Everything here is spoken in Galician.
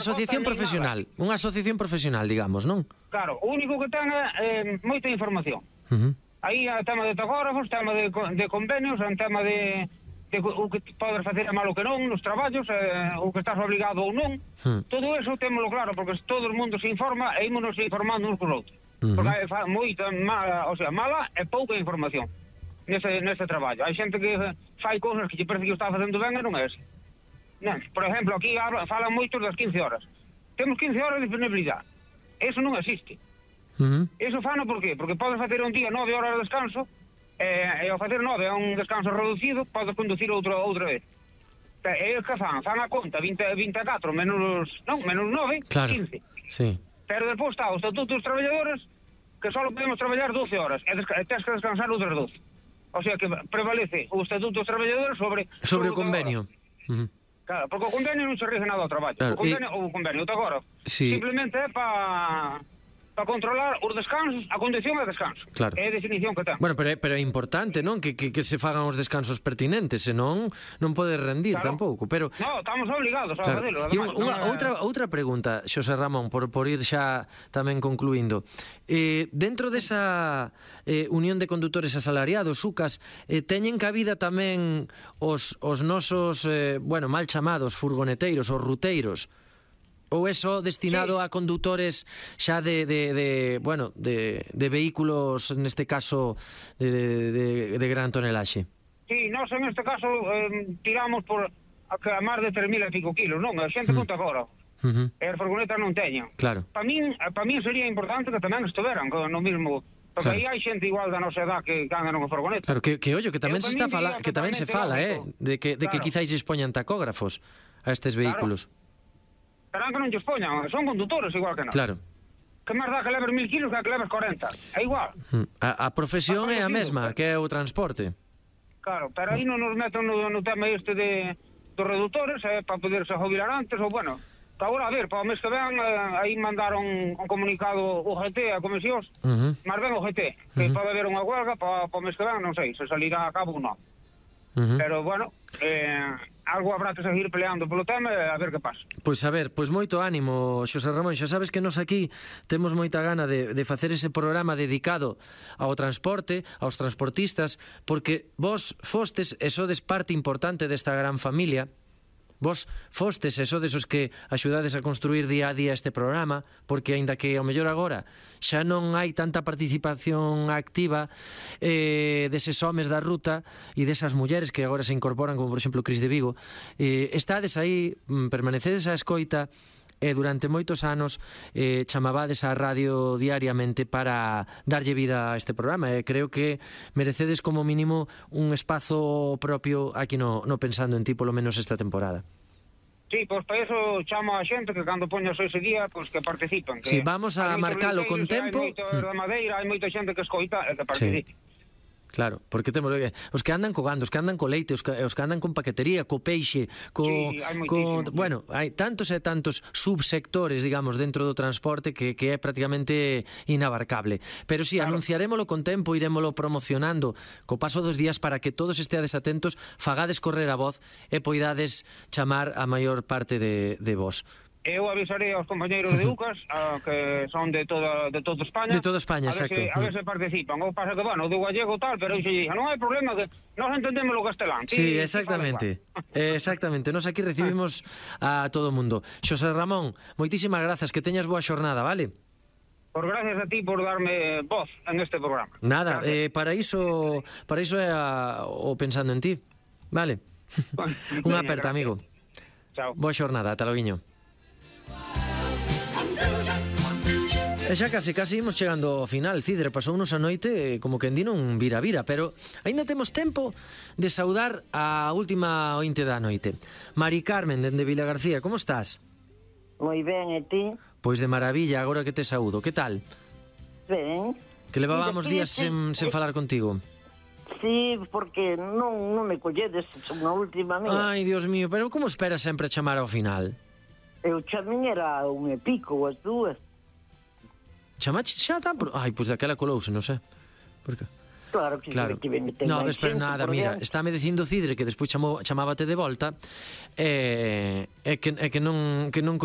asociación profesional, digamos, non? Claro, o único que ten é moita información. Aí é tema de tacógrafos, tema de convenios, é tema de o que podes facer a malo que non nos traballos, o que estás obligado ou non. Todo eso témolo claro, porque todo o mundo se informa e ímonos informando uns con outros. Porque hai moita mala e pouca información nese traballo. Hai xente que fai cousas que lle parece que o está facendo ben e non é así. Por exemplo, aquí falan moito das 15 horas. Temos 15 horas de disponibilidade. Eso non existe. Eso fano por qué? Porque podes facer un día 9 horas de descanso e ao facer 9 a un descanso reducido podes conducir outra vez. E que fan a conta 24 menos 9, claro, 15. Sí. Pero depois está o Estatuto dos Traballadores que só podemos traballar 12 horas e tens que descansar outras 12. O sea que prevalece o Estatuto dos Traballadores sobre o convenio. Claro, porque o convenio non se rige nada ao traballo. Claro, o convenio agora simplemente é para controlar os descansos, a condición é descanso. Claro. É a definición que ten. Bueno, pero é importante, non? Que se fagan os descansos pertinentes, senón non pode rendir tampouco, pero no, estamos obligados a facelo. E outra pregunta, Xosé Ramón, por ir xa tamén concluindo. Dentro desa Unión de Condutores Asalariados, UCAS, teñen cabida tamén os nosos, mal chamados furgoneteiros, os ruteiros? Ou é só destinado a condutores xa de vehículos, neste caso, de gran tonelaxe? Sí, nós en este caso tiramos por a máis de 3.000 e pico kilos, non? A xente conta agora. E as furgonetas non teñen. Claro. Para min sería importante que tamén estiveran no mismo... Porque aí hai xente igual da nosa edad que andan unha furgoneta. Claro, que ollo, que tamén se fala, de que quizáis expoñan tacógrafos a estes vehículos. Pero que non lles poñan, son condutores igual que nós. Claro. Que máis dá que leves 1.000 kilos que leves 40. É igual. A profesión é a mesma, que é o transporte. Claro, pero aí non nos meten no tema este dos reductores, para poderse jubilar antes, ou bueno, agora a ver, para o mes que ven, aí mandaron un comunicado o GT a comisións, máis ben o GT, que pode haber unha huelga para o mes que ven, non sei, se salirá a cabo ou non. Pero, bueno, algo habrá que seguir peleando polo tema e a ver que pasa. Pois a ver, pois moito ánimo, Xosé Ramón. Xa sabes que nos aquí temos moita gana de facer ese programa dedicado ao transporte, aos transportistas, porque vos fostes e sodes parte importante desta gran familia. Vos fostes e sodes os que axudades a construir día a día este programa, porque aínda que ao mellor agora xa non hai tanta participación activa deses homes da ruta e desas mulleres que agora se incorporan, como por exemplo Cris de Vigo, estades aí, permanecedes á escoita e durante moitos anos chamabades á radio diariamente para darlle vida a este programa, e creo que merecedes como mínimo un espazo propio aquí no Pensando en Ti, polo menos esta temporada. Sí, pois para eso chamo a xente que cando poñas ese día, pois que participen. Si vamos a marcalo con tempo. Hai moito da Madeira, hai moita xente que escoita e que participe. Claro, porque temos os que andan co gando, os que andan co leite, os que andan con paquetería, co peixe, bueno, hai tantos e tantos subsectores, digamos, dentro do transporte que é prácticamente inabarcable. Pero si, anunciarémolo con tempo, irémolo promocionando co paso dos días para que todos esteades atentos, fagades correr a voz e poidades chamar a maior parte de vos. Eu avisarei aos compañeiros de UCAS que son de toda España. De toda España, exacto. A ver se participan. Ou pasa que, bueno, do gallego tal, pero non hai problema que nós entendemos o castelán. Sí, exactamente. Exactamente. Nos aquí recibimos a todo o mundo. Xosé Ramón, moitísimas grazas, que teñas boa xornada, vale? Por gracias a ti por darme voz en este programa. Nada, para iso é o Pensando en Ti. Vale. Unha aperta, amigo. Chao. Boa xornada, ata loguiño. E xa casi imos chegando ao final. Cidre, pasounos a noite como que endino un vira-vira, pero aínda temos tempo de saudar a última ointe da noite. Mari Carmen, dende Vilagarcía, como estás? Moi ben, e ti? Pois de maravilla, agora que te saúdo. Que tal? Ben. Que levábamos días sen falar contigo. Sí, porque non me colledes unha última vez. Ai, Dios mío, pero como esperas sempre chamar ao final? Eu chamín era un e pico, as dúas. Chamache xa tan... Ai, pois daquela colouse, non sei. Por que? Claro que non, pero nada, mira, estáme dicindo Cidre que despois chamábate de volta e que non